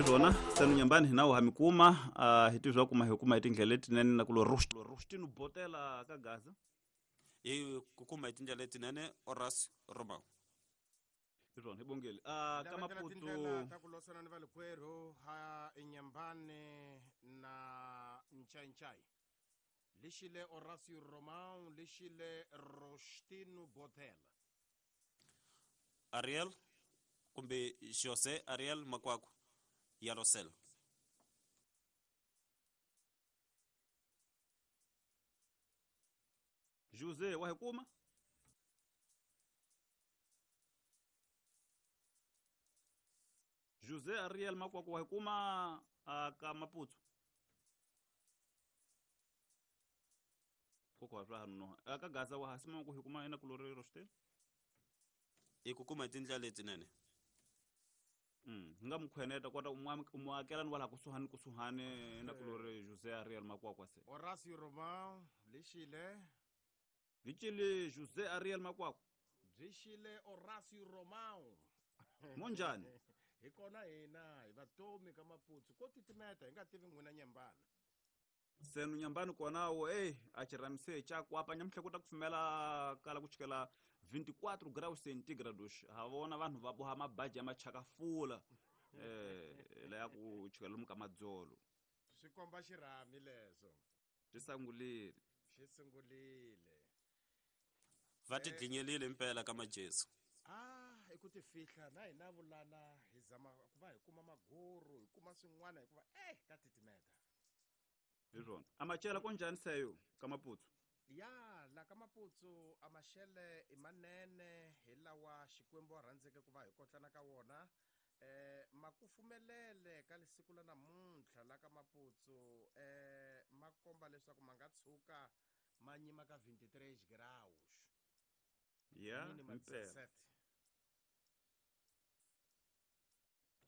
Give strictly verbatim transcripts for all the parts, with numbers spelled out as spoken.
Swona sanu nyambani hina wa mikuma uh, hi tizwa kuma hi kuma hi tindlela letinene na ku lo Rostino Botela ka Gaza hi ku kuma hi tindlela letinene Horace Romao. Swona hi bongeli ah ka Maputo tindlela ta ku losana ni valikwerhu ha Nyambane na Nchainchai lexile Horacio Romao lexile Rostino Botela Ariel kumbe Jose Ariel Makwakwa ya Rosel. Jose wa hukuma Jose Ariel Makwakwa wa hukuma ka Maputo koko swa no aka Gaza wa hasima ku hukuma ina kulori Rostel i ku kuma tindlela letinene. Mm nga mukhweneta kota umuakelani wala kusuhani kusuhani na kulori Jose Ariel Makwakwa se Horacio Romao lexile Vichile Jose Ariel Makwakwa Bixile Horacio Romao Monjani hi kona hina hi vatomi ka Maputo ko titimeta hi nga tivi n'wina Nyambani senu Nyambani kona wo eh a chiramise cha kwapa nyamuhla ku ta kufumela kala ku chikela vinte e quatro graus centígrados ha vona vanhu va boha mabaji ya machakafula eh la ya ku chikela lomu ka madzolo swi komba xirhami leso xi sungulile xi sungulile va ti dlinyelile mpela ka majesu ah i ku ti fihla na hina vulala hi zama ku va hi kuma maguru hi kuma swin'wana hikuva eh ka titimeta hi swona amachela konjani seyo ka Maputo ya la ka Maputo amashele i manene hi lawa Xikwembu a rhandzeke ku va hi kotlana ka wona eh makufumelele ka lisiku la namuntlha la ka Maputo eh ma komba leswaku ma nga tshuka ma nyima ka vinte e três graus ya mpela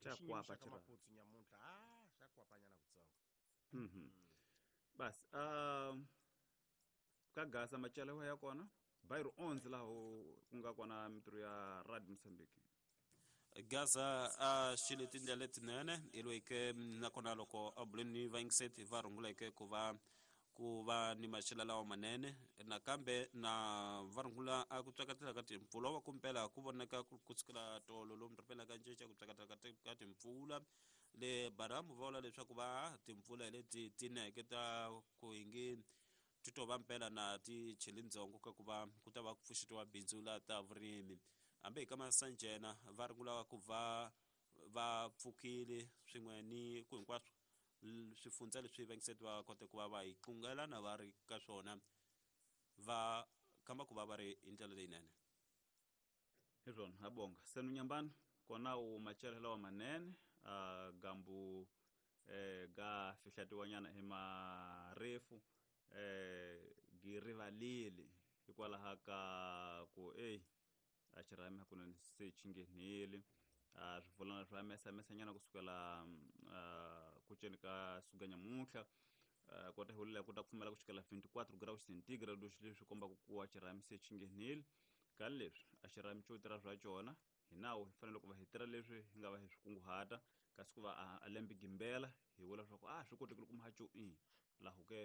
cha kwapa cha Maputo nyamuntlha ah xa kwapanyana kutsongo mhm bas um ka Gaza machela ya kona bairro onze laho ku nga kona mitiro ya Radio Mozambique Gaza a xile tindlela letinene i loyi-ke nakona loko a buleni va yingiseti va runguleke ku va ku va ni maxelo lawa manene nakambe na va rungula a ku tsakatela ka timpfula wa kumpela ku vonaka ku sukela tolo lomu ripela ka nceca ku tsakatela ka timpfula le Baramu va vula leswaku va timpfula leti tineke ta ku hingi ti to va mpela na ti cheli ndzongo ka ku va ku ta va ku pfuxetiwa bindzu la ta vurimi hambi hi ka Masanjena va rungula ku va va pfukile swin'we ni ku hinkwaswo swifundza leswi vangiseti va kote ku va va hi qungela na va ri ka swona va kamba ku va va ri hi ndlela leyinene hi swona ha bonga senu Nyambani kona u machela lawa manene a gambu eh ga fihlatiwanyana hi marefu eh girivalile hikwalaho ka ku ey a xirhami hakunene se xi nghenile a swivulana swa mesamesanyana kusukela ku ceni ka suka nyamuntlha kota hi ku ta pfumela ku chikela vinte e quatro graus centígrados leswi kombaka ku a xirhami se xi nghenile ka leswi a xirhami xo tirha swa xona hi nawu hi fanele ku va hi tirha leswi hi nga va hi swi kunguhata kasi ku va a lembe gimbela hi vula leswaku a swi kotekile ku mahaco i laho ke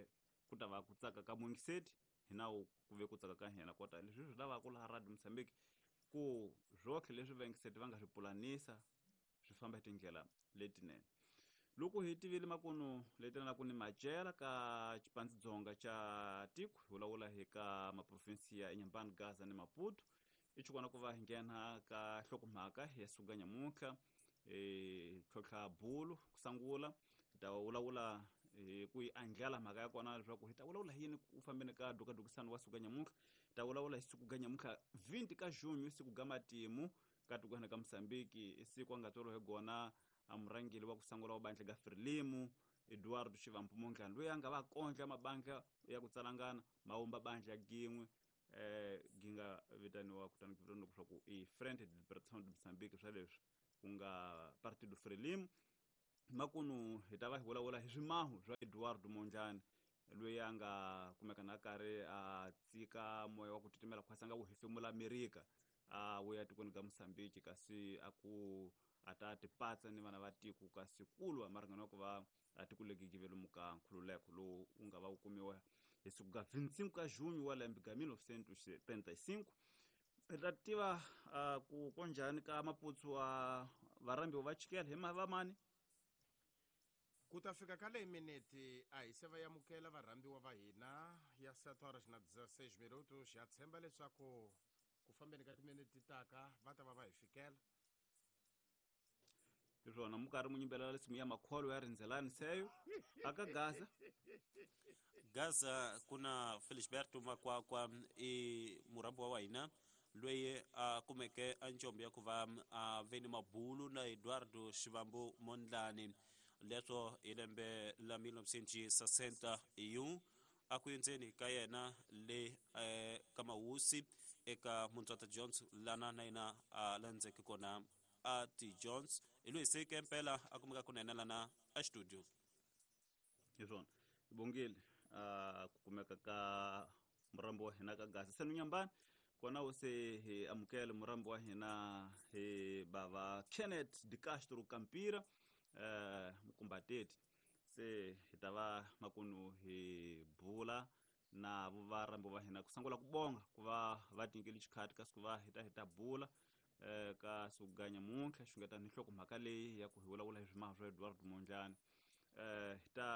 ku ta va ku tsaka ka mungiseti hi nawu ku ve ku tsaka ka hina kota leswi swi lavaka laha Radio Mozambique ku zwotlhe leswi vangiseti va nga swi pulanisa swi famba hi tindlela letinene loko hi tivile makunu leti ku ni macela ka xipandzidzonga xa tiko hi vulavula hi ka maprovinsi ya Inhambane, Gaza ni Maputo i xikona ku va hi nghena ka nhlokomhaka ya suka nyamuntlha hi tlhontlha bulu ku sungula hi ta vulavula hi ku yi andlala mhaka ya kona leswaku hi ta vulavula hi yini ku fambeni ka dukadukisano wa suka nyamuntlha hi ta vulavula hi siku ga nyamuntlha vinte ka junho siku ga matimu ka tikweni ka Mozambique i siku a nga tswariwa hi gona a murhangeri wa ku sungula wa bandla ga Frelimo Eduardo Chivambo Mondlane loyi a nga va kondla mabandla ya ku tsalangana ma vumba bandla gin'we eh ginga vitaniwa kutani ku vitaniwa leswaku i Frente de Libertação de Moçambique swa leswi ku nga Partido Frelimo makunu hi ta va hi vulavula hi swimahu swa Eduardo Mondlane loyi a nga kumeka na karhi a tsika moya wa ku titimela khwasa nga wu hefemula Amerika a vuya tikweni ka Mozambique kasi a ku a ta tipatsa ni vana va tiko kasi kulwa maringana ku va a tiko legi givelomuka nkhululeko lowu wu nga va wu kumiwa hi siku ga vinte e cinco ka junho wa lembe ga mil novecentos e setenta e cinco. Hi ta tiva uh, ku konjhani ka maputsu wa varhambiwa va chikela hi vamani ku ta fika ka leyi minete a hi se va amukela varhambiwa va hina ya sete horas na dezesseis minutos. Ya tshemba leswaku ku fambeni ka timinete taka va ta va va hi fikela. Hi swona mu karhi mu yimbelela risimu ya makholo ya rindzelani seyo aka Gaza. Gaza kuna Felisberto Makwakwa i murhambiwa wa hina loyi a kumeke a njombo ya ku va a ve ni mabulu na Eduardo Shivambu Mondlane leswo hi lembe la mil novecentos sessenta e um a ku endzeni ka yena le eh, ka Mawusi eka Muntswata Jones lana na yena a landzeke kona a T Jones hi loyi se ke mpela a kumeka kunene lana a studio. Hi swona bongile a ku kumeka ka murambi wa hina ka Gaza senu nyambani kona wu se hi amukele murambi wa hina hi bava Kenneth de Castro Campira eh mukumbateti se hi ta va makunu hi bula na varambi va hina ku sungula ku bonga ku va va tinyikele xikhati kasi ku va hi ta hi ta bula eh ka suganya muntlha xungeta ni nhlokomhaka leyi ya ku hi vulavula hi swimaha swa Eduardo Mondlane. Eh hi ta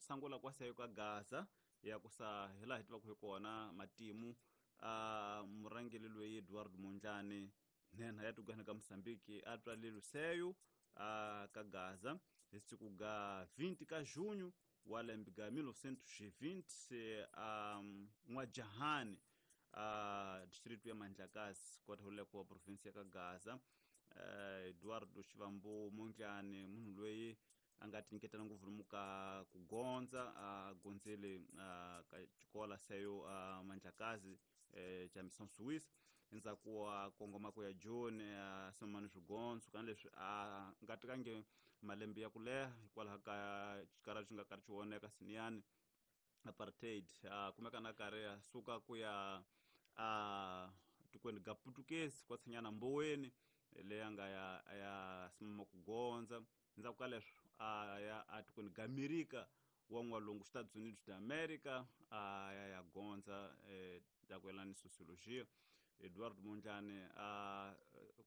sungula kwaseyo ka Gaza ya ku sa hi laha hi tivaka hi kona matimu a murhangeri loyi Eduardo Mondlane nhenha ya tikweni ka Mozambique a tswalelwe seyo a ka Gaza hi siku ga vinte ka junho wa lembe ga mil novecentos e vinte a N'wajahani a distrito ya Mandlakazi kota huleko wa province ya ka Gaza. Eduardo Shivambu Mondlane munhu loyi a nga tinyiketela ngopfu lomu ka ku gondza a gondzele ka xikola seyo a Mandlakazi xa Mission Suisse endzhaku wa kongoma ku ya Joni a simamani swigondzo kana leswi a nga tekangi malembe ya ku leha hikwalaho ka xikarhi xi nga karhi xi voneka siniyani apartheid a kumeka na karhi a suka ku ya a tikweni ga Putukezi kwa tshinyana Mboweni leyi a nga ya ya simama ku gondza endzhaku ka leswo a ya a tikweni ga Amerika wa n'walungu Estados Unidos da America a ya ya gondza eh, ta ku yelana ni sociologia. Eduardo Mondlane a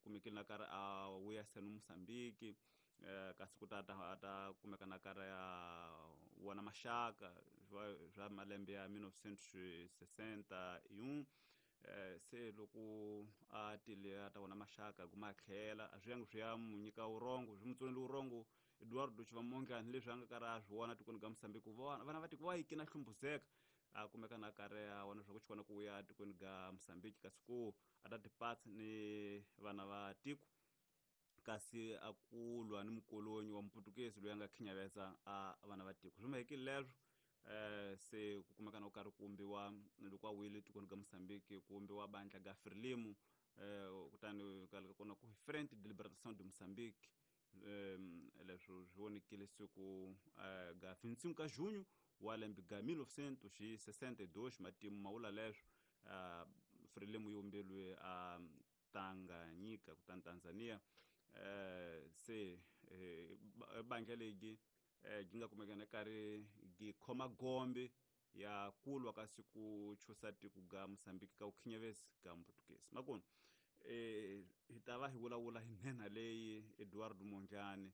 kumekile na karhi a vuya seno Mozambique eh, kasi ku ta ta ta kumeka na karhi a vona maxaka swa malembe ya mil novecentos e sessenta e um eh, se loko a tile a ta vona maxaka kuma a tlhela a swi yangi swi ya mu nyika vurhongo swi mu tsonele vurhongo Eduardo Shivambu Mondlane leswi a nga karhi a swi vona tikweni ka Mozambique vona vana va tiko va yikina hlumbuzeka a kumeka na karhi a vona swa ku xikona ku vuya tikweni ga Mozambique kasi ku a ta tipatsa ni vana va tiko kasi a ku lwa ni mukolonyi wa muputukezi loyi a nga khinyaveza a vana va tiko swi mahekile leswo eh se ku kumeka na ku karhi ku vumbiwa loko a wile tikweni ka Mozambique ku vumbiwa bandla ga Frelimo eh kutani ka kona ku Frente de Libertação de Moçambique um leswo swi vonekile siku ga vinte e cinco ka junho wa lembe ga mil novecentos e sessenta e dois matimu ma vula leswo uh, Frelimo yi vumbeliwe a Tanganyika kutani Tanzania eh se eh, bandla legi eh, gi nga kumeka na karhi gi khoma gombe ya kulwa kasi ku chusa tiko ga Mozambique ka ku khinyavezi ga Mputukezi makunu eh hi ta va hi vulavula hi nhenha leyi Eduardo Mondlane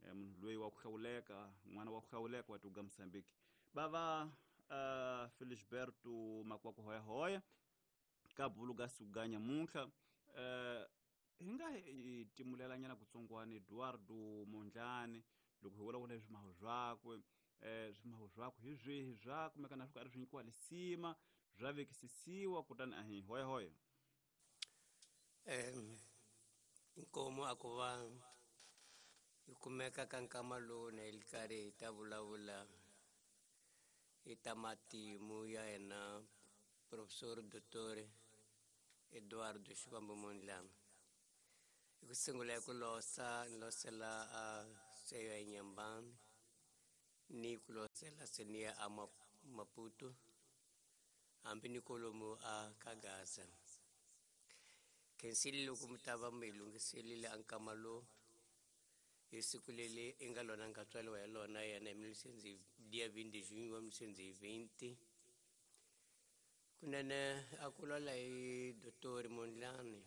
eh, munhu loyi wa ku hlawuleka n'wana wa ku hlawuleka wa tiko ga Mozambique bava uh, Felisberto Makwakwa Hoyahoya ka bulu ga suganya muntlha uh, hi nga hi timulelanyana kutsongwana Eduardo Mondlane loko hi vulavula hi swimaho swakwe eh swimaho swakwe hi swihi swa kumeka na swi karhi swi nyikiwa lisima swa vekisisiwa kutani a hi hoyahoya. Um inkomo a ku va yi kumeka ka nkama lowu na hi karhi hi ta vulavula hi ta matimu ya yena Professor Doutor Eduardo Shivambu Mondlane. Hi ku sungula hi ku losa ni losela a seyo ya Nyambani ni ku losela seniya a Maputo hambi ni kolomu a ka Gaza. Khensile loko mi ta va mi hi lunghiselile a nkama lowu Hi siku leri i nga lona nga tswariwa hi lona yena hi mille novecentos dia vinte de junho wa mille novecentos e vinte. Kunene a ku lwala hi Doctor Mondlane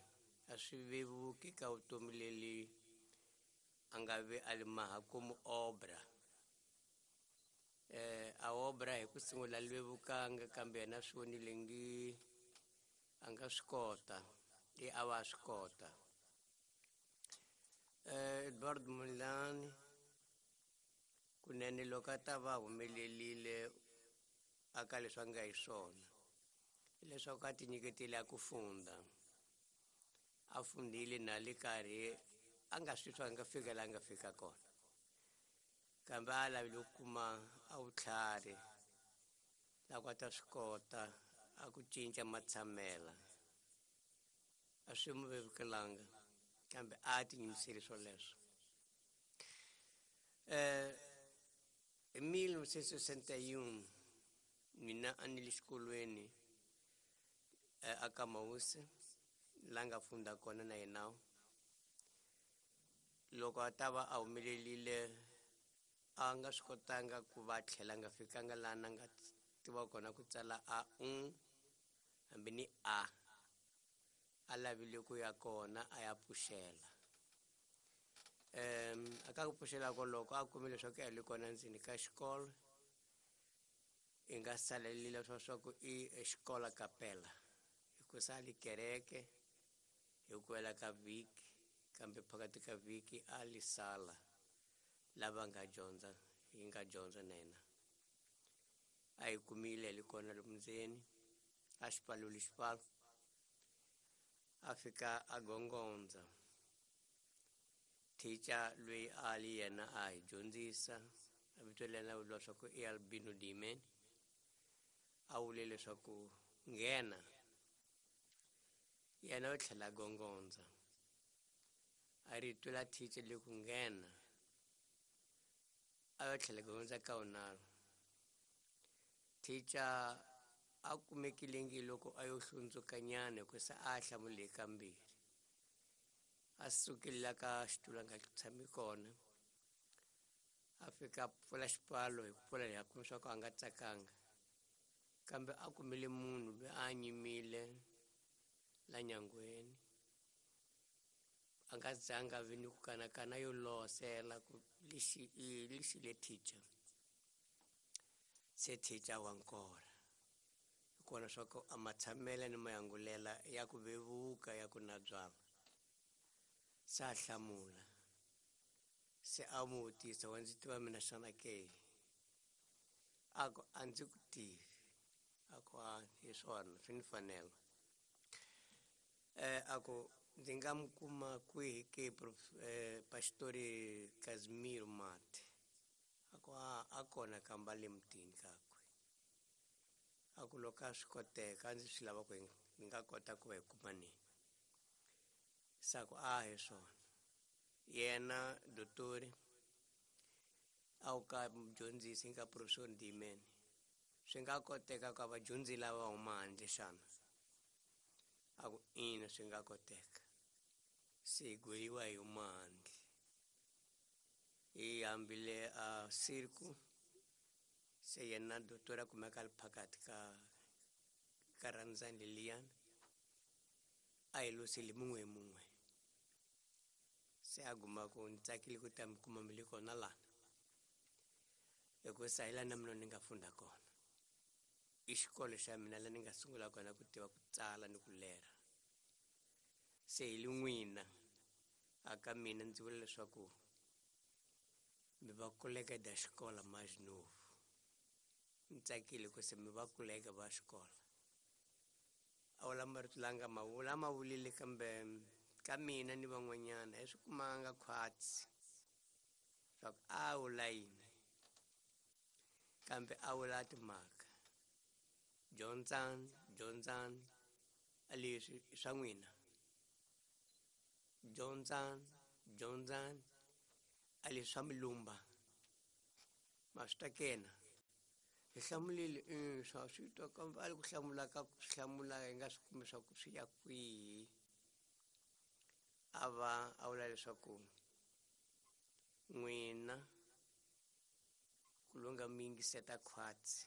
a swi vevuki ka vutomi leri a nga ve a li maha como obra. Eh, a obra hi ku sungula li vevukanga kambe yena swi vonile ngi a nga swi kota, i a va swi kota. Eh, Eduardo Mondlane kunene loko a ta va humelerile aka leswi a nga hi swona, hileswaku a tinyiketile a ku funda. A fundile na le karhi a nga swi twa a nga fika laha a nga fika kona, kambe a lavile ku kuma a vutlhari la ku a ta swi kota a ku cinca matshamela. A swi n'wi vevukelanga kambe a tiyimisele swoleswo. Eh, hi mille novecentos e sessenta e um mina a ni le xikolweni, eh, a ka Mawusi la nga funda kona na yena. Loko a ta va a humelelile a nga swi kotanga ku va tlhela a nga fikanga laha na nga tiva kona ku tsala a un hambi ni a. A lavile ku ya kona a ya pfuxela. Em, a ka ku pfuxela koloko a kumile leswaku a le kona ndzeni ka xikolo, i nga salelile swa swa ku i xikola kapela, hikusa a li kereke hi ku hela ka vhiki, kambe phakathi ka vhiki a li sala lava nga dyondza, yi nga dyondza na yena. A yi kumile li kona lomu ndzeni, a xi pfaluli xipfalo, a fika a gongondza. Thicha loyi a li yena a hi dyondzisa, a vito la yena vuriwa swa ku i Albino Dimen, a vule leswaku nghena. Yena u tlhela a gongondza. A rito la thicha le ku nghena, a yo tlhela gongondza ka vunharhu. Thicha a kumekile ngi loko a yo hlundzukanyana hikusa a hlamule kambirhi. A sukile la ka xitulu a nga tshami kona, a fika a pfula xipfalo hi ku pfula leyi a kuma swa ku a nga tsakanga, kambe a kumile munhu loyi a nyimile la nyangweni. A nga zanga a vi ni ku kanakana yo losela ku lexi i lexi le thicha. Se thicha wa nkora. Hi kona swa ku a matshamela ni mayangulela ya ku vevuka ya ku na byalwa. Se a hlamula. Se a n'wi vutisa, wa ndzi tiva mina xana ke? A ku, a ndzi ku tivi. A ku, a hi swona, swi ni fanela. Eh, a ku, ndzi nga mi kuma kwihi ke prof-, eh, Pastori Casimiro Mate? A ku, a, a kona kamba le mutini kakwe. A ku loko a swi koteka, a ndzi swi lava ku hi nga kota ku va hi kumanini. Se a ku, a hi swona. Yena dotori a wu ka mudyondzisi nga Professor Ndimen, swi nga koteka ku vadyondzi lava huma handle xana? A ku ina, swi nga koteka. Se hi gweviwa hi huma handle. Hi hambile a circo, se yena dotori a kumeka a ri phakathi ka, ka randzani leliyani, a hi losile mun'we hi mun'we. Se a guma ku ni tsakile ku ta mi kuma mi le kona lana, hikusa hi laha na mina ni nga funda kona. I xikolo xa mina laha ni nga sungula kona ku tiva ku tsala ni ku lera. Se hi le n'wina a ka mina ndzi vula leswaku mi va koleka da xikola mais novo. Ni tsakile ku se mi va koleka va xikola. A vula marito la nga ma vula, ma vulile kambe ka mina ni van'wanyana hi swi kumanga khwatsi swa ku a vula yini, kambe a vula timhaka. Dyondzani, dyondzani, a leswi i swa n'wina. Dyondzani, dyondzani, a leswi swa milumba. Ma swi twa kena? Hi hlamulile, mm, swa swi twa kambe a li ku hlamula ka ku swi hlamula hi nga swi kumi swa ku swi ya kwihi. A va a vula leswaku nga mi yingiseta khwatsi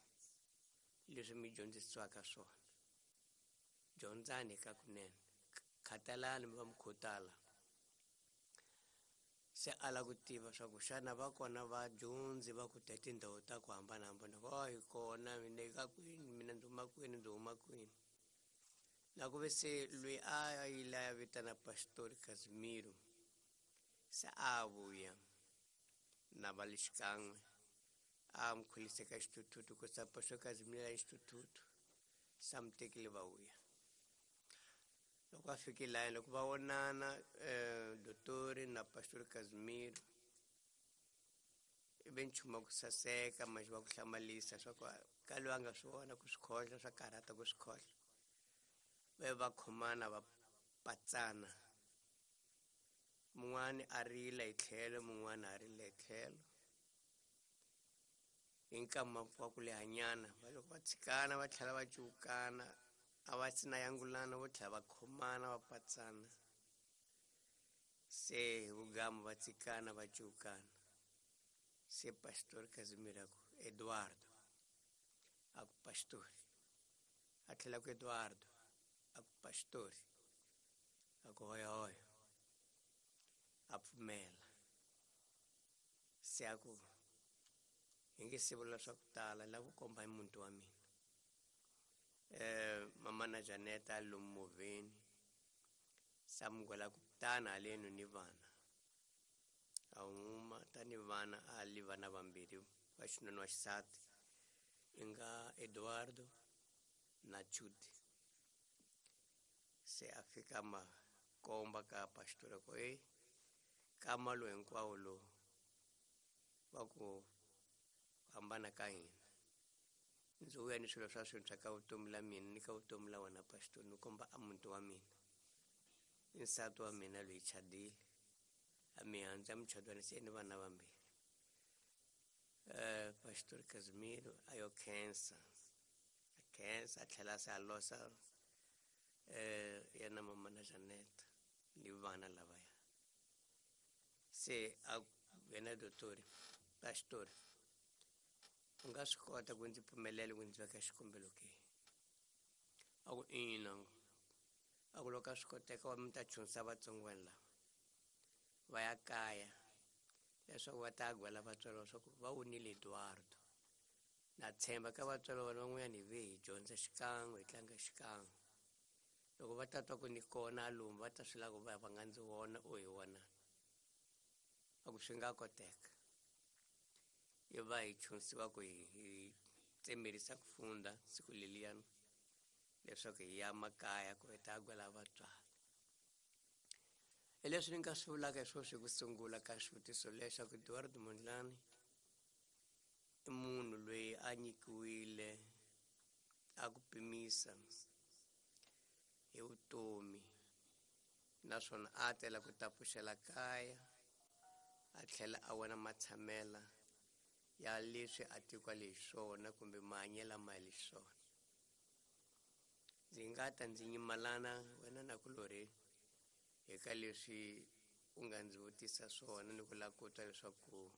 leswi mi dyondzisiwaka swona. Dyondzani ka kunene, khatalani mi va mi khutala. Se a lava ku tiva swa ku xana va kona vadyondzi va ku ta tindhawu ta ku hambanahambana, va hi kona mina ka kwini, mina ndzi huma kwini, ndzi huma kwini. Na ku ve se loyi a yile a ya vitana Pastor Casimiro se a vuya na va le xikan'we a n'wi khulise ka xithuthuthu ku sa Pastor Casimiro ya xithuthuthu sa mi tekile va vuya. Loko va fikile laya loko va vonana dotori na Pastor Casimiro i ve nchumu wa ku saseka manje wa ku hlamarisa swa ku ka loyi a nga swi vona ku swi khohla swa karhata ku swi khohla. Va va khomana va patsana, mun'wani a rila hi tlhelo mun'wani a rila hi tlhelo. Hi nkama wa ku lehanyana va loko va tshikana va tlhela va cukana a va sina yangulana vo tlhela va khomana va patsana. Se hi vugamu va tshikana va cukana. Se Pastor Casimiro a ku Eduardo, a ku Pastor, a tlhela ku Eduardo, a ku Pastor, a ku hoya hoya, a pfumela. Se a ku hi nge se vula swa ku tala la ku komba hi muti wa mina. Eh mama na Janeta lomu movheni sa mugwela ku tana haleno ni vana a huma tani vana a li vana vambirhi va xinuna wa xisati i nga Eduardo na Chudi. Se a fika ma komba ka pastor ku e kama lowu hinkwawo lowu wa ku hambana ka hina ndzi vuya ni swilo swa swintshwa ka vutomi la mina ni ka vutomi la wena pastor, ni komba a muti wa mina i nsati wa mina loyi chadile a mi handza muchadwana se ni vana vambirhi. Eh Pastor Casimiro a yo khensa a khensa a tlhela se a losa eh yena mama na Janeta ni vana lavaya. Se a wena dotori pastor u nga swi kota ku ndzi pfumelela ku ndzi veka xikombelo ke? A ku ina, a ku loko a swi koteka wa mi ta chunisa vatsongwana lava va ya kaya leswaku va ta gwela vatswari va swa ku va wunile Eduardo. Na tshemba ka vatswari va vona van'wanyana hi ve hi dyondza xikan'we hi tlanga xikan'we. Loko va ta twa ku ni kona lomu va ta swi lava ku va va nga ndzi vona o hi vona. A ku swi nga koteka. I va hi chunisiwa ku hi hi tsemerisa ku funda siku leliyani leswaku hi ya makaya ku hi ta gwela vatswari. Hi leswi ni nga swi vulaka hi swona swi ku sungula ka xivutiso lexaku Eduardo Mondlane i munhu loyi a nyikiwile a ku pimisa hi vutomi naswona a tela ku ta pfuxela kaya a tlhela a vona matshamela ya leswi a tikwa leswona kumbe mahanyelo ma leswona. Ndzi nga ta ndzi nyimalana wena na kulorhi eka leswi u nga ndzi vutisa swona ni ku lava ku twa leswaku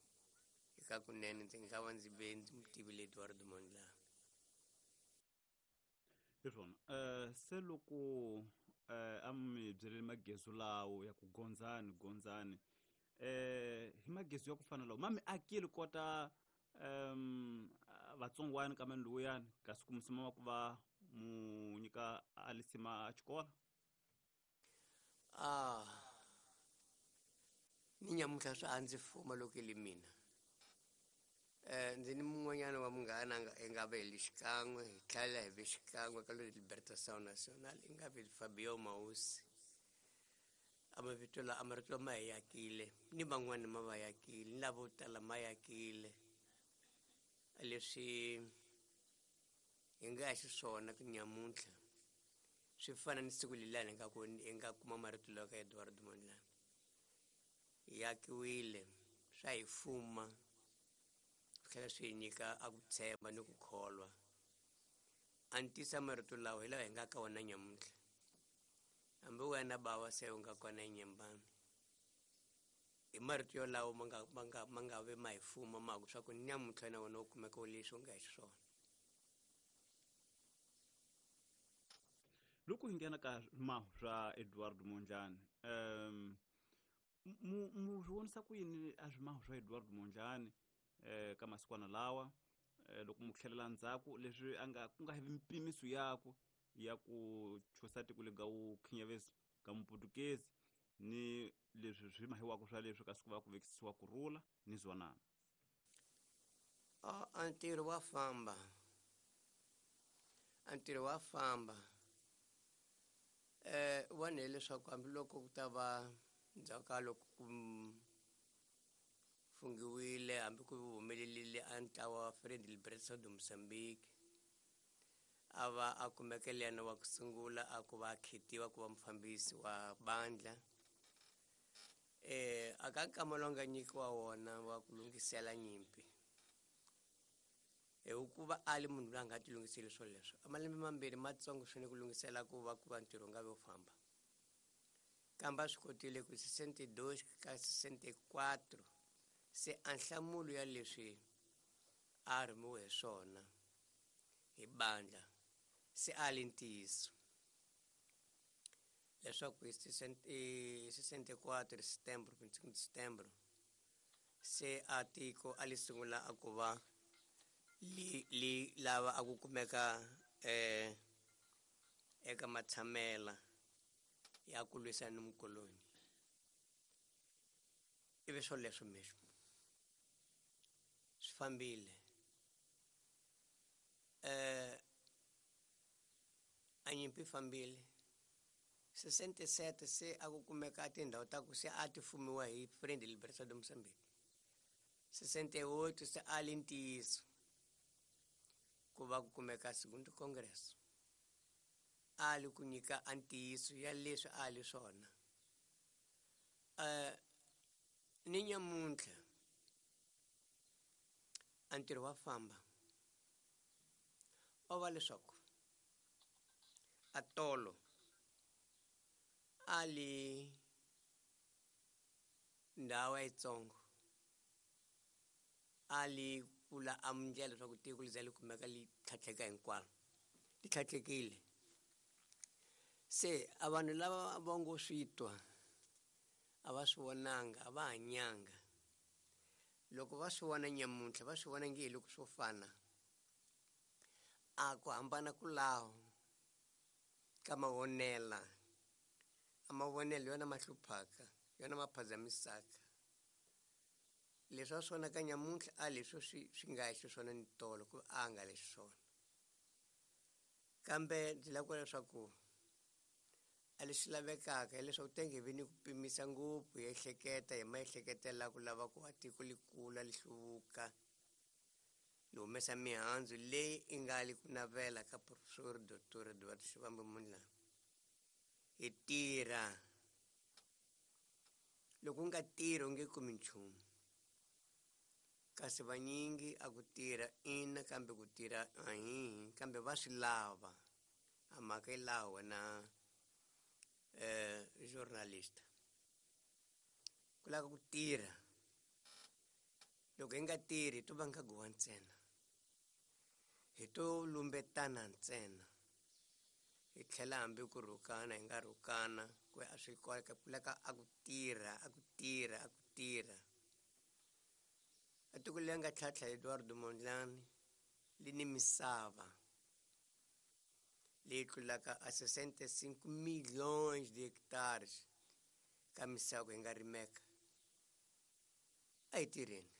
eka kunene ndzi nga va ndzi ve ndzi n'wi tivile Eduardo Mondlane. Hi swona um se loko um a mi byelele magezu lawo ya ku gondzani gondzani eh hi magezu ya ku fana lawo ma mi akile kota um vatsongwana ka mani lowuyani kasi ku musima wa ku va mu nyika a lisima a xikolo? Ah ni nyamuntlha swa a ndzi fuma loko i li mina. Eh ndzi ni mun'wanyana wa munghana nga i nga ve li xikan'we hi tlhela hi ve xikan'we ka Libertação Nacional i nga ve Fabio Mausi. A mavito la a marito lama hi yakile ni van'wani ma va yakile ni lavo tala ma yakile leswi hi nga xiswona ku nyamuntlha swi fana ni siku leliyani hi nga ku hi nga kuma marito lawa ka Eduardo Mondlane. Hi akiwile swa hi fuma swi tlhela swi hi nyika a ku tshemba ni ku kholwa. A ni tisa marito lawa hi lawa hi nga ka wona nyamuntlha. Hambi wena bava se u nga kona enyembani Hi marito yolawo ma nga ma nga ma nga ve ma hi fuma ma ku swa ku nyamuntlha na wena u kumeka u leswi u nga hi xiswona. Loko hi nghena ka swimahu swa Edward Mondlane, um mu mu swi vonisa ku yini a swimahu swa Edward Mondlane eh ka masikwana lawa, loko mu tlhelela ndzhaku leswi a nga ku nga hevi mpimiso yakwe ya ku chusa tiko lega wu khinyavesi ka muputukezi ni leswi swi mahiwaka swa leswi kasi ku va ku vekisiwa kurhula ni zwanana? A a ntirho wa famba, a ntirho wa famba. Eh vona hileswaku hambiloko ku ta va ndzhaku ka loko ku fungiwile hambi ku humelerile a ntlawa wa Frente de Libertação de Moçambique, a va a kumekele yena wa ku sungula a ku va a khetiwa ku va mufambisi wa bandla. Eh a ka nkama lowu nga nyikiwa wona wa ku lunghisela nyimpi, hikuva a li munhu loyi a nga ti lunghiseli swilo leswo, a malembe mambirhi matsongo swinene ku lunghisela ku va ku va ntirho wu nga vi wu famba. Kambe a swi kotile ku sessenta e dois ka sessenta e quatro se a nhlamulo ya leswi a rhumiwe hi swona hi bandla se a li ntiyiso leswaku hi sessenta e quatro setembro, vinte e cinco de setembro, se a tiko a li sungula a ku va li li lava a ku kumeka eh eka matshamela ya ku lwisana ni mukoloni. Ivi swo leswo mesmo swi fambile. Eh a nyimpi fambile. sessenta e sete se a ku kumeka tindhawu ta ku se a ti fumiwa hi Frente de Libertação de Moçambique. sessenta e oito se a li ntiyiso ku va ku kumeka Segundo Congresso, a li ku nyika a ntiyiso ya leswi a li swona. Eh ni nyamuntlha a ntirho wa famba, o va leswaku a tolo a li ndhawu yitsongo, a li pfula a ndlela leswaku tiko li za li kumeka li tlhatlheka hinkwaro, li tlhatlhekile. Se a vanhu lava va ngo swi twa a va swi vonanga, a va hanyanga. Loko va swi vona nyamuntlha va swi vona nge hi loko swo fana, a ku hambana ku laho ka mavonela. A mavonelo yona ma hluphaka, yona ma phazamisaka. Leswi a swi vonaka nyamuntlha a leswi swi swi nga xiswona ni tolo ku a nga leswi swona. Kambe ndzi lava ku vula leswaku a leswi lavekaka hileswaku tenge vi ni ku pimisa ngopfu hi ehleketa hi maehleketela ku lava ku va tiko li kula li hluvuka li humesa mihandzu leyi i nga li ku navela ka Professor Doctor Eduardo Shivambu Mondlane. Hi tirha, loko u nga tirhi u nge kumi nchumu. Kasi vanyingi a ku tirha ina, kambe ku tirha ahihi, kambe va swi lava. A mhaka yi laha wena eh journalist, ku lava ku tirha. Loko hi nga tirhi hi to vanga guwa ntsena, hi to lumbetana ntsena, hi tlhela hambi ku rhukana hi nga rhukana, ku a swi kota ku lava a ku tirha, a ku tirha, a ku tirha. A tiko leri nga tlhantlha Eduardo Mondlane li ni misava leyi tlulaka a sessenta e cinco milhões de hectares ka misava ku hi nga rimeka. A hi tirheni.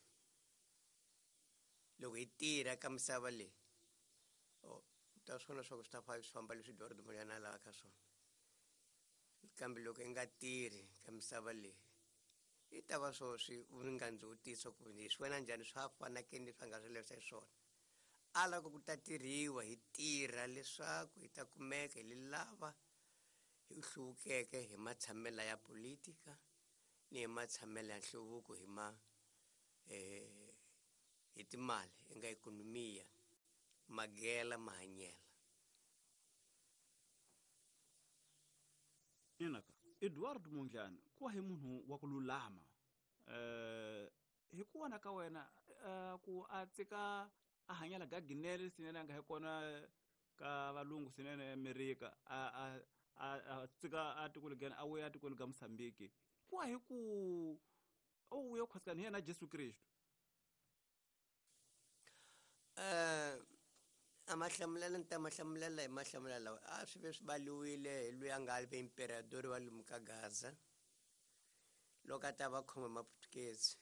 Loko hi tirha ka misava leyi, oh, ta swi vona leswaku swi ta swi famba leswi Eduardo Mondlane a lavaka swona. Kambe loko hi nga tirhi ka misava leyi, i ta va swo swi nga ndzi vutisa ku hi swi vona njhani swa fana ke ni leswi a nga swi lavisa xiswona. A lava ku ta tirhiwa, hi tirha leswaku hi ta kumeka hi li lava hi hluvukeke hi matshamelo ya politika ni hi matshamelo ya nhluvuko hi ma, eh, hi timali, hi nga ikhonomiya, magela mahanyela. Inaka Eduardo Mondlane ku wa hi munhu wa ku lulama, Eh hi ku vona ka wena ku a tsika a hanyela gaginele swinene a nga hi kona ka valungu swinene Amerika a a a tsika a tikweni gani a vuya tikweni ga Mozambique ku hi ku o vuya khwasikani hi yena Jesu Kristu. Eh a mahlamulela ni ta mahlamulela hi mahlamulela lawa a swi ve swi baliwile hi loyi a nga ve imperadori wa lomu ka Gaza loko a ta va khoma Maputukezi.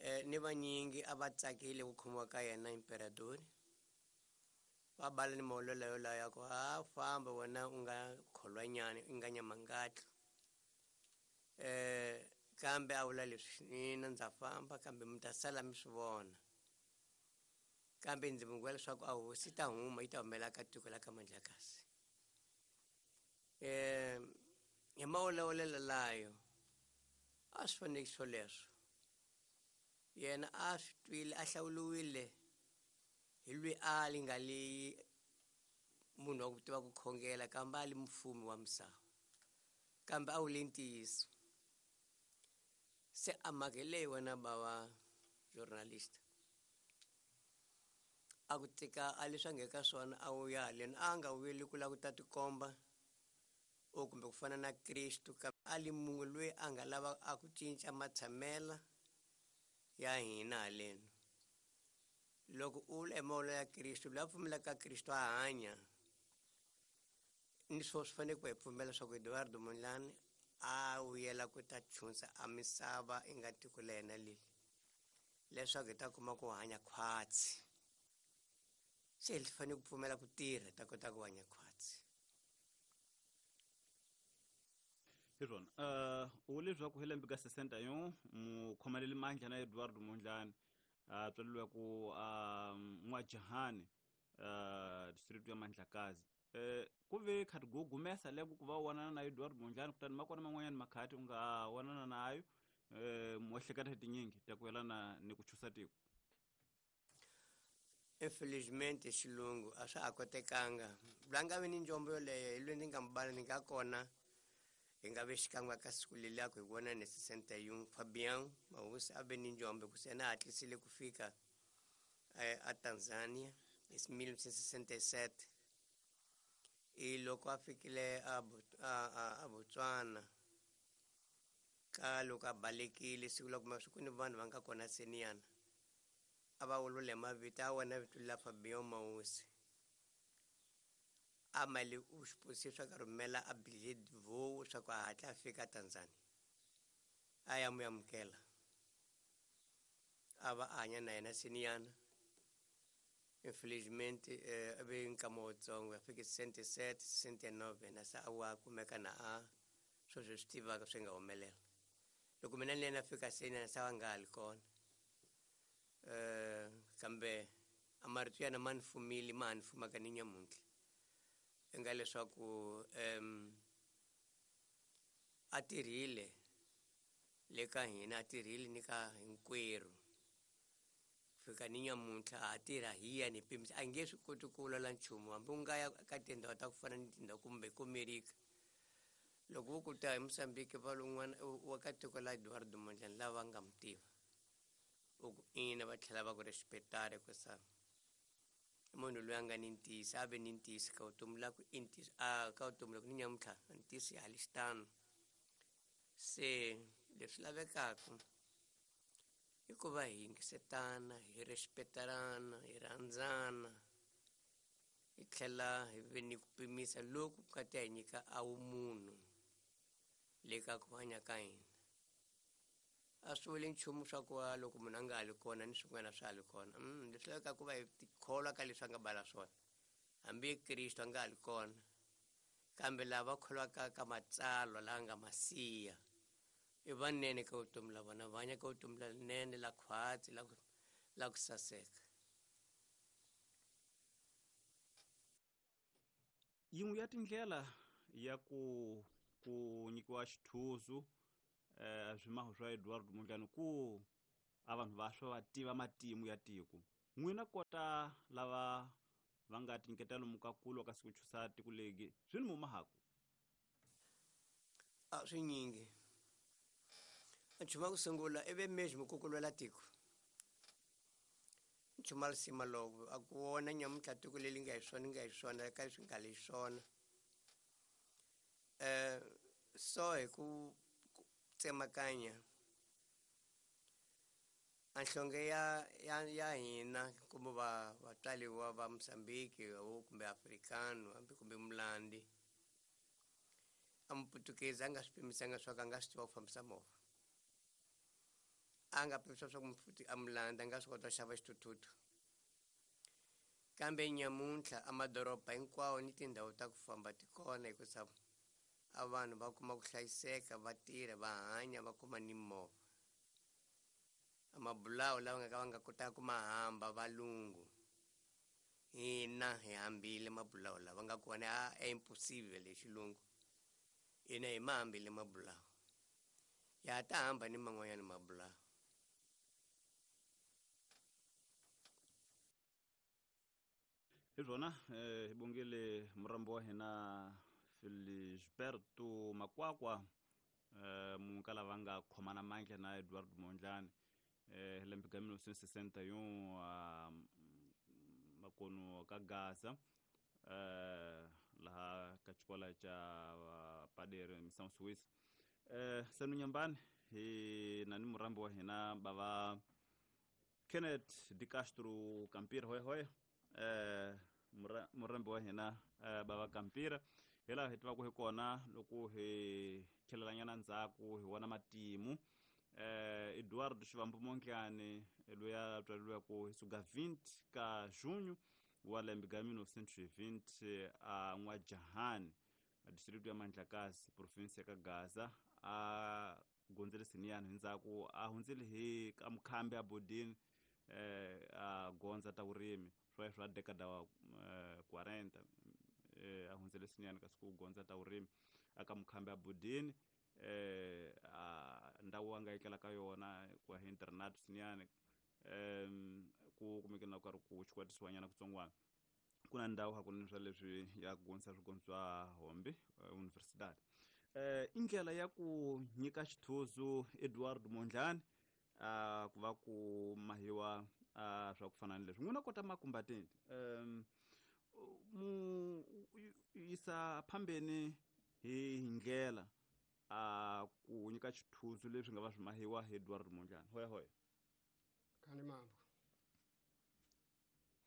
Eh ni vanyingi a va tsakile ku khomiwa ka yena imperadori va bala ni maolelo yolayo ya ku ha famba wena u nga kholwanyani u nga nyamangatlo. Eh kambe a vula leswi mina ndza famba kambe mi ta sala mi swi vona kambe ndzi mi vula leswaku a hosi ta huma yi ta humela ka tiko la ka Mandlakazi. Eh hi maolelo layo a swi fanele swoleswo yena a swi twile a hlawuliwile hi lwi a li nga li munhu wa ku tiva ku khongela kambe a li mufumi wa misava kambe a wu le ntiyiso. Se a mhaka hi leyi wena bava journalist a ku tika a leswi a nga ka swona a wu ya haleni a nga vuyeli ku lava ku ta tikomba o kumbe ku fana na Kristu kambe a li munhu loyi a nga lava a ku cinca matshamela ya hina haleni. Loko u vula hi mavula ya Kristu loyi a pfumelaka ka Kristu a hanya ni swo swi fanele ku hi pfumela leswaku Eduardo Mondlane a vuyela ku ta chunsa a misava i nga tiko la yena leli leswaku hi ta kuma ku hanya khwatsi. Se hi fanele ku pfumela ku tirha hi ta kota ku hanya khwatsi. Hi swona uh u leswaku hi lembe ka sesenta yo mukhomaleli mandla na Eduardo Mondlane a tswaleriwe ku N'wajahani uh district ya Mandlakazi. Eh ku ve khati gugumesa leko ku va wanana na Eduardo Mondlane kutani makona man'wanyana makhati u nga wanana nayo eh muehleketa tinyingi ta ku yelana ni ku chusa tiko. Infelizmente xilungu a swa ha kotekanga lwa nga vi ni njombo yoleyo hi loyi ndzi nga mi bala ni nga kona hi nga ve xikan'we ka siku leliya ku hi vona ni sesenta yin'we Fabian Mahosi a ve ni njombo ku se yena a hatlisile ku fika a Tanzania hi mille neuf cent sesenta-sept. I loko a fikile a a Botswana ka loko a balekile siku la kuma swi ku ni vanhu va nga kona seniyana a va vulavula hi mavito a wona vito la Fabian Mahosi a mali u xi swa ka rhumela a billet vo swa ku a hatla a fika Tanzania a ya mu amukela a va a hanya na yena seniyana. Infelizmente eh a ve nkama wutsongo a fike sesenta-sept sesenta-nove na se a wa kumeka na a sweswo swi tivaka swi nga humelela loko mina ni yena fika seniyana se a nga ha li kona. Eh kambe a marito yana ma ni fumile ma ha ni fumaka ni nyamuntlha i nga leswaku um a tirhile le ka hina a tirhile ni ka hinkwerhu fika ni nyamuntlha a tirha hi yena hi pimisa a nge swi koti ku vulavula nchumu hambi u nga ya ka tindhawu ta ku fana ni tindhawu kumbe ku Amerika loko vo ku ta hi Mozambique va lun'wana wa ka tiko la Eduardo Mondlane lava nga mi tiva u ku ina va tlhela va ku respectare ku sa munhu loyi a nga ni ntiyiso a ve ni ntiyiso ka vutomi la ku i ntiyiso a ka vutomi loko ni nyamuntlha ntiyiso ya hali xitano. Se leswi lavekaka i ku va hi yingisetana hi respectarana hi rhandzana hi tlhela hi ve ni ku pimisa loku ka ta hi nyika a vumunhu le ka ku hanya ka hina. A swi vuli nchumu swa ku va loko munhu a nga ha li kona ni swin'wana swa ha li kona leswi lavekaka ku va hi tikholwa ka leswi a nga bala swona hambi Kristu a nga ha li kona kambe lava kholwaka ka matsalwa lawa nga masiya i vanene ka vutomi la vona va hanya ka vutomi lerinene la khwatsi la ku la ku saseka. Yin'we ya tindlela ya ku ku nyikiwa xithuzu eh swimaho swa Eduardo Mondlane ku a vanhu va swa va tiva matimu ya tiko n'wina kota lava va nga tinyiketa lomu ka kulwa ka siku chusa tiko legi swi ni mumahaku a swinyingi Nchumu wa ku sungula i ve mesmo ku ku lwela tiko. Nchumu wa risima loko a ku vona nyamuntlha tiko leri nga hi swona nga hi swona ka leswi nga le swona. Eh so hi ku tsemakanya a nhlonge ya ya ya hina kumbe va vatswariwa va Mozambique kumbe Africano hambi kumbe Mulandi a Muputukezi a nga swi pimisanga swa ku a nga swi tiva ku fambisa movha. A nga pimisa swa ku a Mulandi a nga swi kota ku xava xithuthuthu. Kambe nyamuntlha a madoroba hinkwawo ni tindhawu ta ku famba ti kona hikusa a vanhu va kuma ku hlayiseka va tirha va hanya va kuma ni movha. A mabulawu lawa nga ka va nga kotaka ku ma hamba valungu hina hi hambile mabulawu lawa nga kona a impossible hi xilungu. Hina hi ma hambile mabulawu ya ta hamba ni man'wanyana mabulawu. Hi swona eh hi bongile murambo wa hina Felisberto Makwakwa eh munhu lava nga khomana mandla na Eduardo Mondlane eh lembe ka mil novecentos e sessenta e um a makono ka Gaza eh laha ka xikolo xa Padere Missão Suíça. Eh senu nyambani hi na ni murambo wa hina bava Kenneth de Castro Campira hoy hoy eh murambo wa hina bava Campira hi laha hi tivaka hi kona loko hi tlhelelanyana ndzhaku hi vona matimu eh Eduardo Shivambu Mondlane loyi a tswariweke hi suka vinte ka junho wa lembe ka mil novecentos e vinte a N'wajahani a distrito ya Mandlakazi province ya ka Gaza a gondzele siniyani hi ndzhaku a hundzile hi ka mukhambi a bodini eh a gondza ta vurimi swa swa década wa quarenta eh a hundzele siniyani kasi ku gondza ta vurimi aka mukhambi a bodini eh a ndhawu a nga etlela ka yona ku hi internat siniyani em ku kumeke na karhi ku xikwatisiwanyana kutsongwana ku na ndhawu hakunene swa leswi ya ku gondzisa swigondzo swa Hombe Universidade. Eh i ndlela ya ku nyika xithuzu Eduardo Mondlane a ku va ku mahiwa a swa ku fana ni leswi n'wina kota makumbateni um mu yisa phambeni hi ndlela a ku nyika xithuzu leswi nga va swi mahiwa hi Eduardo Mondlane. Hoya hoya. Kani mambo.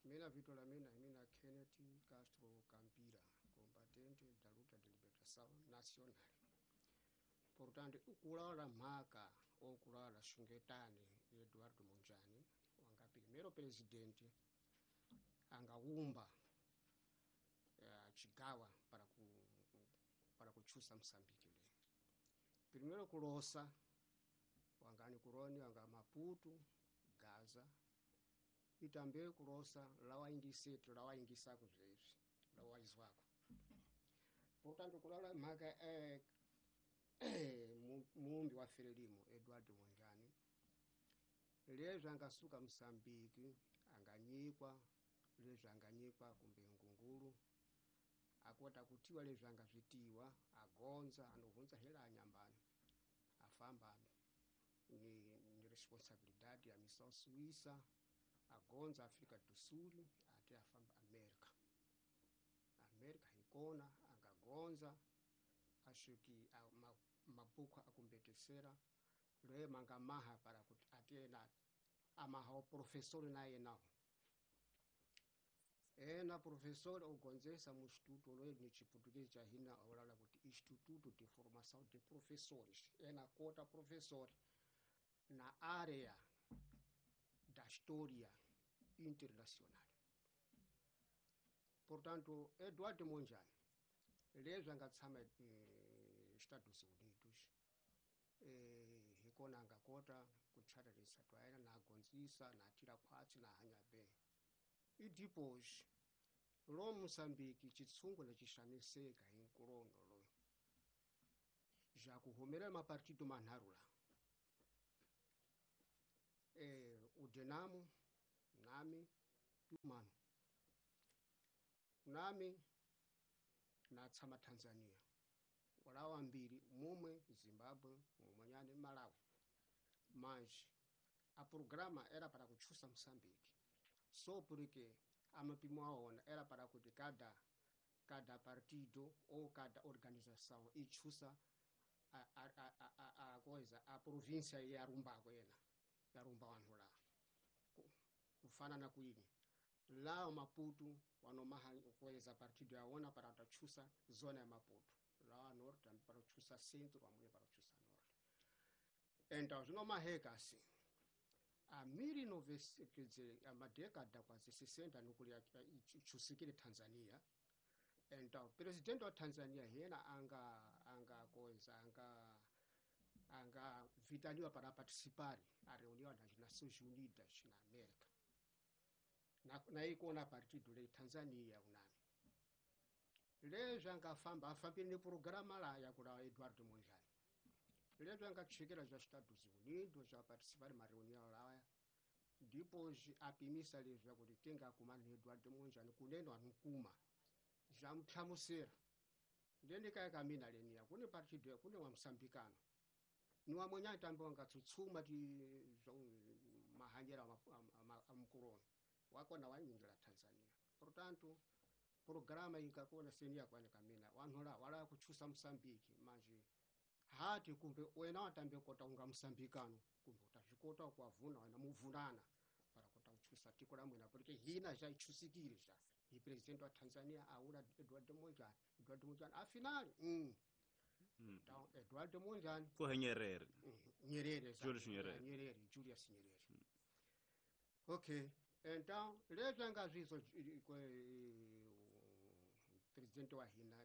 Mina vito la mina mina Kenneth Castro Campira, combatente da luta de libertação nacional. Portanto, ukulala mhaka okulala xungetani Eduardo Mondlane wanga primeiro presidente angaumba uh, chigawa para ku para kuchusa Msambiki le. Primeiro kulosa wangani kuroni wanga Maputo, Gaza itambe kulosa lawa ingisetu lawa ingisako zvezvi lawa izwako. Portanto kulala mhaka eh, muumbi wa Frelimo Eduardo Mondlane lezwi angasuka Msambiki anganyikwa lezwi anganyikwa kumbe ngungulu akota kutiwa lezwi angazvitiwa agonza anohunza hela anyambani afamba ni, ni responsabilidade ya Missão Suíça agonza Afrika do Sul ate afamba Amerika. Amerika hikona angagonza ashuki mabhuku akumbetesera loye mangamaha para kuti ate na amaha o professor naye nawo ena professor ogonzesa mu instituto loye ni chiputukezi cha hina olala kuti Instituto de Formação de Professores ena kota professor na área da história internacional. Portanto, Eduardo Mondlane lezwi anga tshama eh, Estados Unidos eh, hikona angakota kutshatarisa twaena na agonzisa na atira khwatsi na hanya be idipos lo Mozambique chitsungo lechixaniseka hi nkulondo lo ja kuhumela mapartido manharhu la eh, udenamo nami tumano nami na tshama Tanzania walawa mbili mumwe Zimbabwe mumwenyane Malawi. Mas a programa era para kuchusa Moçambique. Só porque a mapimo aona era para kuti cada cada partido ou cada organização ichusa a, a, a, a, a coisa, a província yarumbako yena, yarumba wanhu la. Kufana na kuini. Lá o Maputo, wanomaha coisa partido yaona para tachusa zona ya Maputo. Lá norte para chusa centro, amwe para chusa norte. Então, zinomaheka assim. A mil e novecentos, quer dizer, a uma década quase sessenta nuclear chusikile Tanzania. Então, presidente wa Tanzania yena anga anga coisa anga anga vitaliwa para participar a reunião das Nações Unidas na América. Na na ikona partido le Tanzania unami. Lezo anga famba afambile ni programa la ya kula Eduardo Mondlane. Lezo anga chekela za Estados Unidos já participar ma reunião lá. Depois apimisa lezo kuti tenga kumana ni Eduardo Mondlane kuneno anukuma. Já mthamusera. Ndende kaya kamina lenia kune partido kune wa Msambikano. Ni wa mwenye tambo anga tsutsuma ti mahanyera amkuroni. Wako na wanyingira Tanzania. Portanto, programa ingakona senia kwani kamina wanhola wala kuchusa Msambiki manje hati kumbe wena watambe kota unga Msambikano kumbe utazvikota kwavuna wena muvunana para kota kuchusa tiko la mwena porque hina ja ichusikire ja i president wa Tanzania aula Eduardo Mondlane Eduardo Mondlane afinal mm mm então Eduardo Mondlane ko Nyerere Nyerere Julius Nyerere Nyerere Julius Nyerere mm. Okay. Então, lezo angazvizo presidente wa hina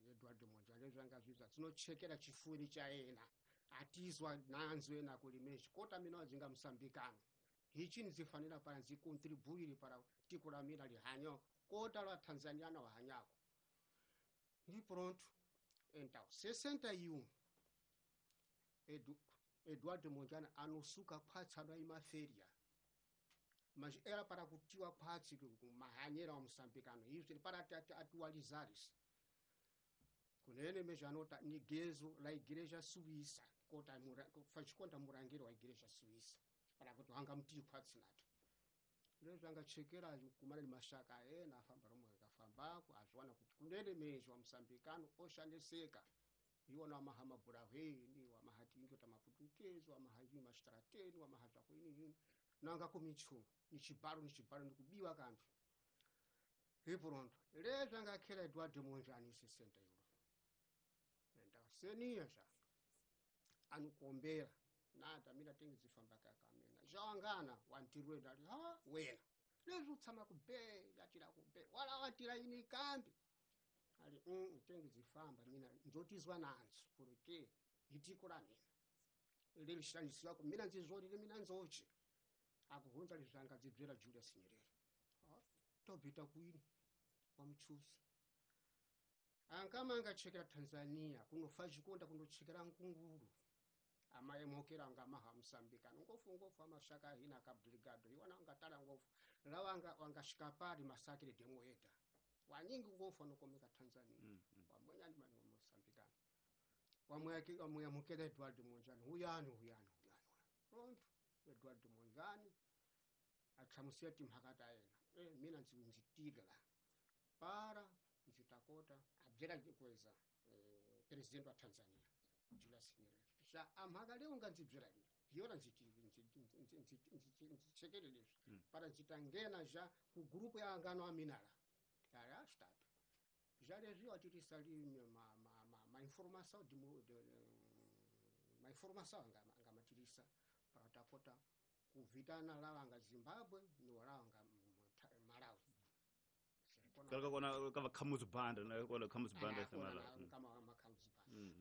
Eduardo Mondlane lezo angazvizo dzinochekera chifuri chaena atizwa nanzo ena kulimeshi kota mina wadzinga Msambikano hichi nzifanira para nzikontribuire para tiko la mina lihanyo kota la Tanzania na wahanyako ndi pronto. Então, sessenta e um Edu, Eduardo Mondlane anosuka kwatsana imaferia mas era para kutiwa kwatsi mahanyera wa Msambikano izvo para atualizar isso kunene mejanota ni gezo la igreja suíça kota faz conta murangiro wa igreja suíça para kuti hanga mti kwatsi nato lezo anga chekera kumana ni mashaka ena afamba romwe kafambako azwana kuti kunene mejo wa Msambikano oshaneseka iwona mahama burahweni wa mahatingo tamaputukezo wa mahaji mastrateni wa mahaja kwini nanga kumichu ni chibaro ni chibaro nikubiwa kambi ipronto lezo angakhela Eduardo Mondlane sessenta euro enda senia ja anukombera nata mina tengi zifamba kakamena jawangana wantirwe ndali ha wena lezo utsama kube yatira kube wala watira ini kambi ali mm tengi zifamba mina nzotizwa nanzo porque itiko la mina lelishandiswa ko mina nzizori mina nzochi akuhunza lizanga dzibzera Julius Nyerere ah tobita kuini wamchusa ankama angachekera Tanzania kunofa chikonda kundochekera nkunguru amaye mokera anga maha Msambikano ngofu ngofu amashaka hina ka brigado iwana angatala ngofu lawanga wangashikapari masakire demo eta wanyingi ngofu anokomeka Tanzania mm -hmm. wamwenya ni manu Msambikano wamweke wamwamukela Eduardo Mondlane huyani huyani huyani pronto Eduardo Mondlane athamusia timhakata ena eh mina nzitigla para nzitakota abjera kweza eh, president wa Tanzania Julius Nyerere sha amhaka leo nganzibjera ni yona nzichekelele mm. para nzitangena ja ku grupo ya angano aminala ya stop já lezio atirisali ma ma ma, ma informação de, de, ma informação anga angamatirisa para takota kuvitana lawanga Zimbabwe ni walawanga Malawi kalaka kona kava khamuzi banda na kona khamuzi banda sa Malawi kama makhamuzi banda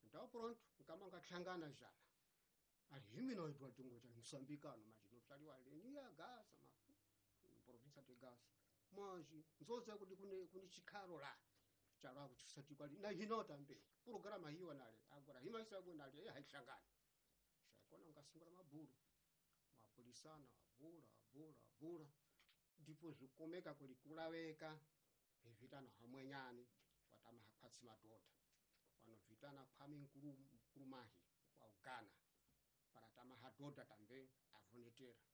então pronto kama ngahlangana jala ali himina Eduardo Mondlane Msambikano manje notsaliwa lenia Gaza ma província de Gaza manje nzoza kuti kune kune chikhalo la chalwa kuchusati kwali na hinota mbe programa hiyo nale agora himaisa nale haihlangana kona ungasungura maburu mapolisana bura bura bura ndipo zvikomeka kuli kulaweka hivitana hamwenyani watama hakwatsi madota wanovitana Kwame Nkrumah wa Ghana Para tamahadoda tambe avonetera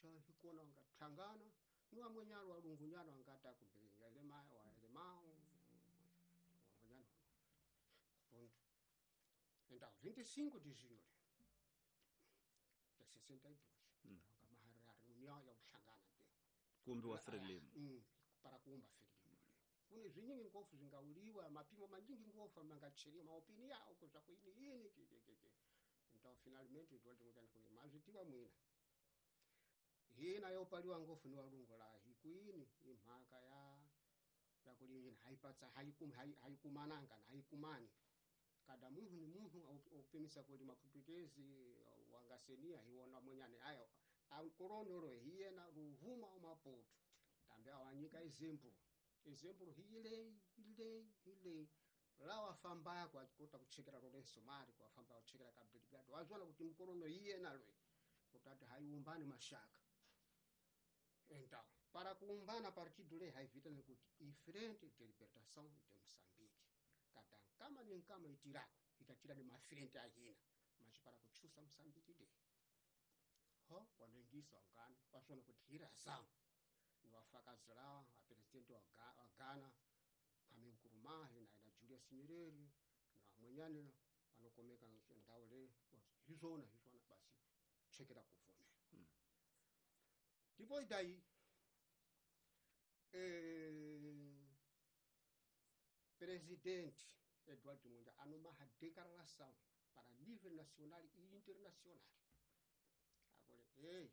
sha hikona nga tlangana ni wamwenyalo walungunyana wangata kumbe yalema walema wamwenyano ponto. Então vinte e cinco de junho de sessenta e dois mm. Nga reunião ya kuhlangana te kumbi wa Frelimo mm, para kuumba Frelimo kune zvinyingi ngofu zvingauliwa mapimo manyingi ngofu mangacheriwa maopini yao kuzva kuini yini kekekeke. Então finalmente Eduardo Mondlane kule mazvitiwa mwina hina yopaliwa ngofu ni walungu la hikuini imhaka ya yakulini haipatsa haikum haikumananga na haikumani kada munhu ni munhu opimisa kuli maputukezi wangasenia hiwona mwenyane ayo ankoronoro hiyena ruvuma omaputu tambe awanyika izembu izembu hile hile hile lawa famba kwa kota kuchekera Lourenço Marques kwa famba kuchekera Cabo Delgado wazona kuti mkorono hiyena lwe kutati haiumbani mashaka. Então para kuumbana partido le haivita nekuti i Frente de Libertação de Moçambique kada nkama ni nkama itirako itatira ni mafrente ahina mas para kuchusa Moçambique de ho wanengisa ngana wasona kuti hirazão ni wafakazi lawa a presidente wa Ghana Kwame Nkrumah na na Julius Nyerere na mwenyane anokomeka ndau le hizona hizona basi chekera kuvone mm. Depois daí eh, presidente Eduardo Mondlane anoma a declaração para nível nacional e internacional. Agora, ei,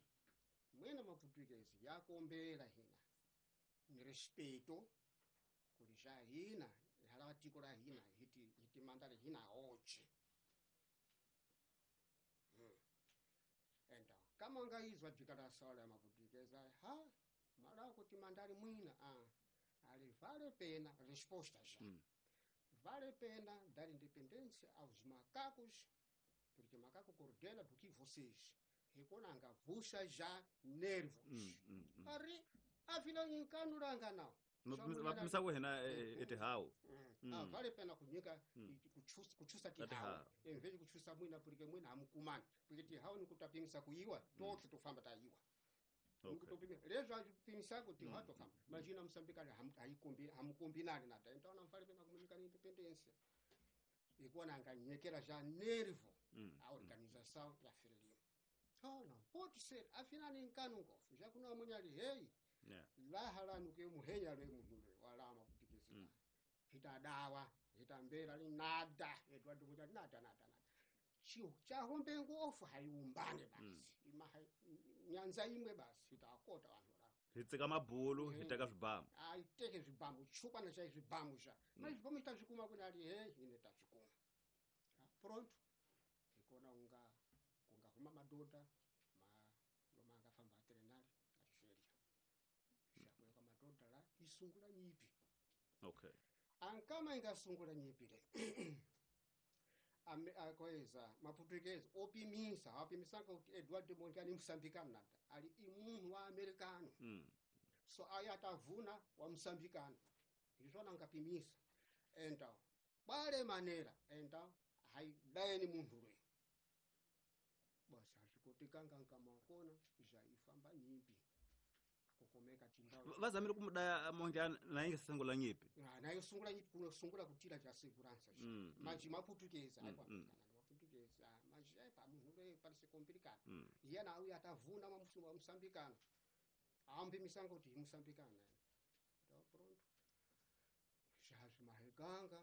mwena maputukezi yakombera hina ni respeito kuri já hina halatiko la hina hiti hiti mandale hina oche. Hmm. Então, kama ngaizwa declaração ya maputukezi ha mara kuti mandale mwina ah ali vale pena resposta já. Hum. Vale pena dar independência aos macacos, porque macaco coordena do que vocês. Reconanga vuxa já nervos. Hum, hum, hum. Ari afinal nkanuranga não. Mapimisa wena etihau. Ah, vale pena kunyika kuchusa kuchusa tihau. Em vez de kuchusa mwina porque mwina hamukumani. Porque tihau ni kutapimisa kuiwa, tote tofamba taiwa. Okay. Lezo apimisa kuti hato kama. Imagina Moçambique haikombi hamukombinani nada. Então não vale pena comunicar independência. E quando anganyekera já nervo a organização da Frelimo. Oh, não pode ser. Afinal nem canungo. Já kuna munyali hey. Yeah. La halanu ke muhenya le muhule wala maputikizika. Mm. Hita dawa, hita mbera li nada, Eduardo Mondlane nada nada nada. Chiu cha hombe ngofu haiumbane basi. Mm. Ima hai, nyanza imwe basi hitakota vanhu la. Hitsika mabulu, hitaka zvibamu. Ah, iteke zvibamu, chupa na chai zvibamu ja. Mm. Mas zvibamu itazvikuma kuna ali hey, ine tazvikuma. Ah, pronto. Ikona unga kunga huma madoda ma loma angafamba trenali Algeria. Shakuya madoda la isungula nyipi. Okay. Ankama ingasungula nyipi le. Ame akoeza maputukezi opimisa apimisanga kuti Eduardo Mondlane musambikano nada ali imunhu wa americano mm. So aya atavuna wa musambikano izvona ngapimisa enta bale manera enta haidayeni munhu lwe basi hazvikotikanga nkamakona zvaifamba nyipi kukomeka chindau vazamire kumudaya Mondlane nainge sungula nyipi ah nayo sungula nyipi kuno sungula kutira cha segurança mm, manje maputukezi mm, ayi mm. maputukezi manje eh pamunhu le parece complicado mm. yena uya atavuna mamusu musambikano ambi misango kuti musambikano então pronto já maheganga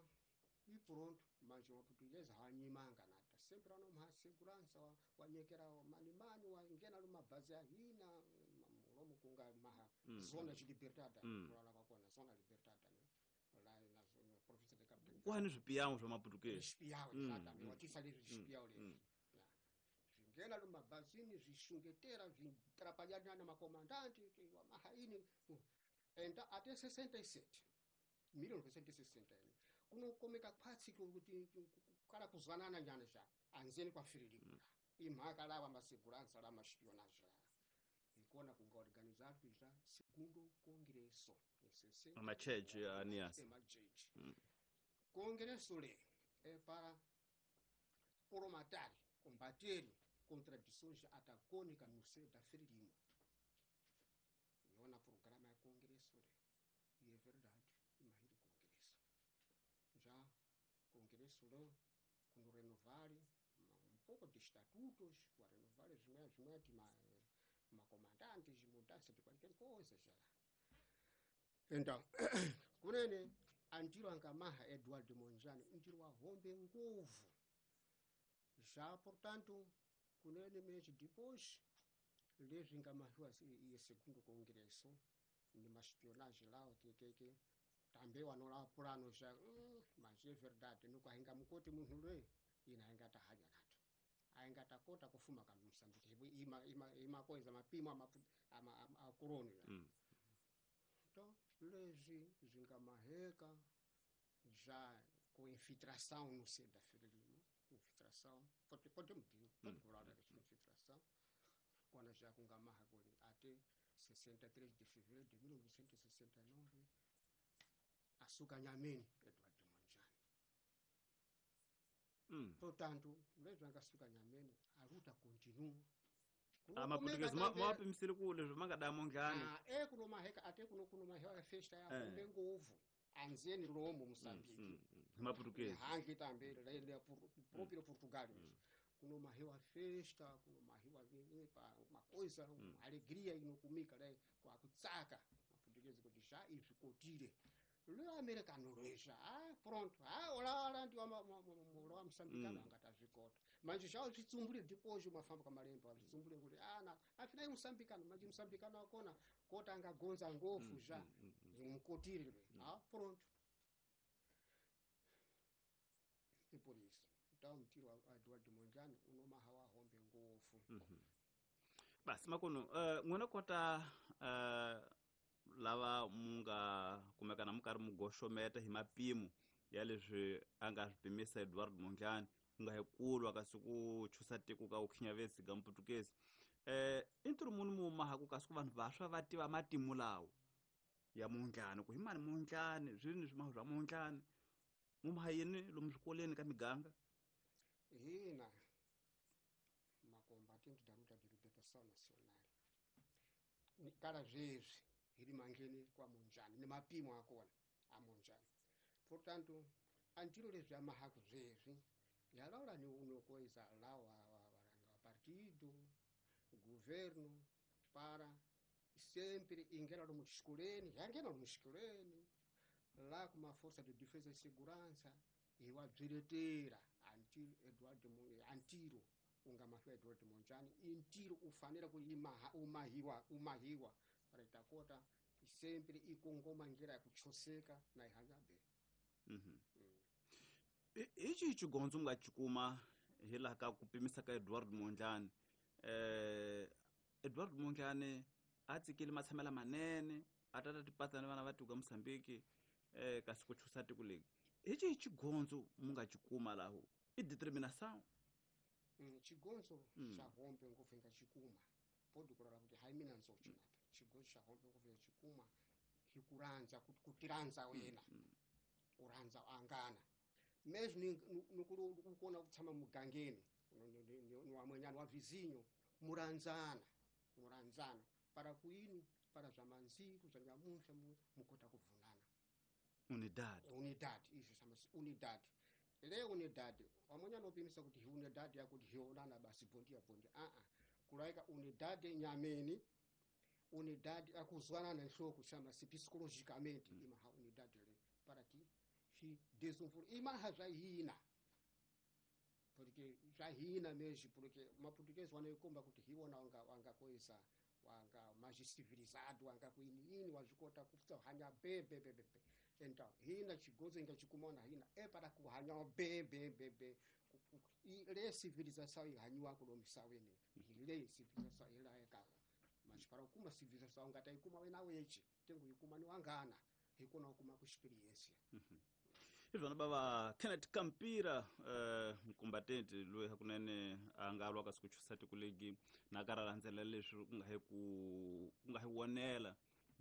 e pronto manje maputukezi hanyimanga nada sempre ano segurança wanyekera mani mani wangena lumabhazi ahina lomo kunga maha mm. zona de liberdade mm. kulala kwakona zona liberdade ne la na zona província de Cabo Delgado kwani zvipiyawo zva maputukezi zvipiyawo mm. exatamente watisa lezvi zvipiyawo lezvi mm. zvingena lumabhazini zvishungetera zvitrapalhana na makomandante wa mahaini enta até sessenta e sete mil novecentos e sessenta kunokomeka kwatsi kuti kala kuzwanana nyana ja anzeni kwa Frelimo mm. imhaka lawa masegurança la maspionagem ikona kunga organizado já segundo congresso macheche anias macheche mm. congresso le é para promatar combater contradições antagônicas no seio da Frelimo. Yona programa ya congresso le. E é verdade, imagina o congresso. Já congresso lá, quando renovarem, um pouco de estatutos, para renovar os meus, uma, uma comandante de mudança de qualquer coisa já. Então, kunene andiro angamaha Eduardo Mondlane, ndiro wahombe nguvu. Já, portanto, kunene mês depois, levem ngamahiwa e segundo congresso, numa espionagem lá, o que que que também wanola plano já, hum, mas é verdade, nunca hingamukote munhu lwe, ina hingata hanya nato. Aingata kota kufuma ka Mosambiki, ima ima ima coisa mapimo ama ama a corona. Mm. Então, lezi zingamaheka já com infiltração no seio da Frelimo, infiltração, pode podemos dizer, pode falar dessa infiltração. Quando já com Gamaha até sessenta e três de fevereiro de mil novecentos e sessenta e nove, açúcar Nhamene, Eduardo Mondlane. Hum. Portanto, mesmo que açúcar Nhamene, a luta continua. Ah, mas português, ma pimisile ku leswi ma nga da Mondlane. Ah, é kuno maheka até kuno kuno maheka festa ya kumbe ngovu. Anzeni lomo Moçambique. Ma português. Hangi também, ele é próprio Portugal. Kuno mahiwa festa, kuno mahiwa uma coisa, uma alegria inokumika, né? Com a kutsaka, português ko já e ficou tire. Le americano já, ah, pronto. Ah, olá, olá, ndi uma uma moçambicano angata zvikota. Mas já zvitsumbule depois uma famba kamalemba, zvitsumbule kuti ah, na, afinal moçambicano, mas moçambicano akona kota angagonza ngofu já, mukotire. Ah, pronto. E por isso. Então, mtiro wa Eduardo Mondlane unomaha wa hombe ngofu. Basi makono, uh, ngwena kota uh, lava munga kumekana mukari mugoxometa hi mapimo ya leswi a nga swi pimisa Eduardo Mondlane ku nga hi kulwa kasi ku chusa tiko ka ukhinyavesi ka Mputukezi. Eh, i ntirho muni mu mahaku kasi ku vanhu vantshwa va tiva matimu lawo ya Mondlane, ku hi mani Mondlane, swini swimaho swa Mondlane, mu maha yini lomu swikolweni ka miganga? Hina makombatente da luta de libertação nacional kala zwezwi hili mangeni kwa Mondlane ni mapimo akona a Mondlane. Portanto, antiro leswi amahaku zwezwi yalaula ni uno coisa lá wa wa partido governo para sempre ingena no escoleni, yangena no escoleni lá com uma força de defesa e segurança e wa direteira antiro Eduardo antiro ungamahiwa Eduardo Mondlane intiro ufanira ku imaha umahiwa umahiwa para itakota sempre ikongoma ngira kuchoseka na ihanyabe. Mhm. Ichi chigonzo nga chikuma hila ka kupimisa ka Eduardo Mondlane. Eh Eduardo Mondlane a tsikile matshamela manene atata tipatana vana va tuka Mozambique eh kasi ku chusa tiko leki. Ichi chigonzo munga chikuma laho i determinação. Mm, chigonzo xa hombe ngopfu nga chikuma podi kurara kuti hai mina nzochinapa chigonzo xa hombe ngopfu nga chikuma hikuranza kutiranza wena uranza angana mesmo nukuru ukona kutsama mugangeni ni wamwenyana wa vizinho muranzana muranzana para kuini para zvamanziku zvanyamusha mukota kuvunana unidade unidade izvo samasi unidade le unidade wamwenyana upimisa kuti unidade yakuti hionana basi bondia bondia a a kulaika unidade nyameni unidade akuzwanana nhloko chamasi psicologicamente mm. Imaha unidade le para ti hi desenvolve imaha zvahina porque zvahina mesmo porque maportuguês wanoikomba kuti hiwona wanga wanga koisa wanga mais civilizado wanga kuini ini wazvikota kupfa hanya be be be be então hina chigozo inga chikumona hina é para kuhanya be be be be le civilização ihanyiwa kulomisaweni le civilização ila ekawa mas para kuma civilização ngata ikuma wena wechi tengu ikuma ni wangana hikona kuma ku experiência. Izvona baba Kenneth Kampira eh mkombatente loyi hakunene a nga lwa kasi ku chusa tiko legi na ka ra landzela leswi ku nga hi ku ku nga hi wonela